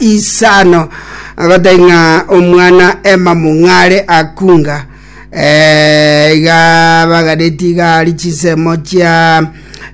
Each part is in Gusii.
isano agotebia ng'a omwana Emma Mong'are akunga eh, iga baganeti iga ari chinsemo chia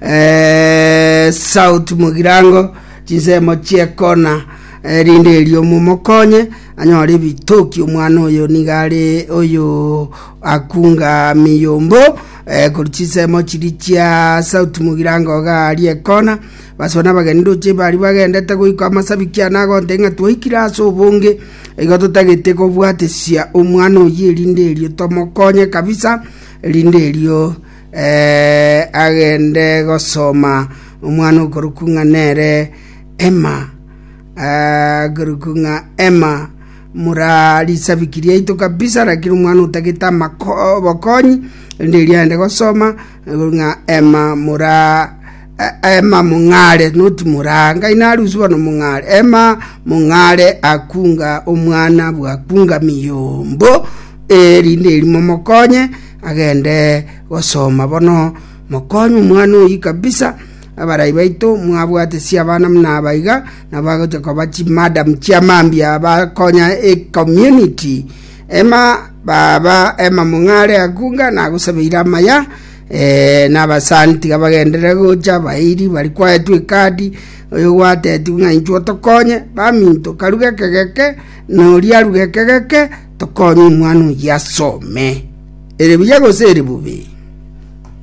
eh, South Mugirango chinsemo chi'ekona erinde erio momokonye anyore ebitoki omwana oyo nigo are oyo akunga miyombo eh, korwa chinsemo chiria chia South Mugirango iga aria ekona Basibwe nabageni ndoche baria bagendete goika amasabiki ane agontebia ng'a twaikire ase obonge, igo totagete kobwatesia omwana oyio erinde erio tomokonye kabisa, erinde erio eh, agende gosoma omwana okorokwa ng'a nere Emma, eh, akorokwa ng'a Emma mura risabiki riaito kabisa, lakini omwana otagete amako obokonyi, erinde erio agende gosoma, ng'a Emma mura Ema mong'are, not moraa, ngai narusie bono mong'are, Ema mong'are akunga omwana bwakunga miyombo, erinde eri momokonye agende gosoma. Bono mokonye omwana oyio kabisa, abarai baito mwabwatesie abana buna aba iga, nabo bagocha koba chimadam chia mambia bakonya ecommunity. Ema baba Ema mong'are akunga nagosabeire amaya. Eh, na abasani tiga bagenderere gocha, abairi baria kwaetwe ekadi, oyo gwatetigwe ng'a inchuo tokonye, baminto karuge ekegeke, na oria aruge ekegeke, tokonye omwana oyio asome. Ere buya gose ere bobe?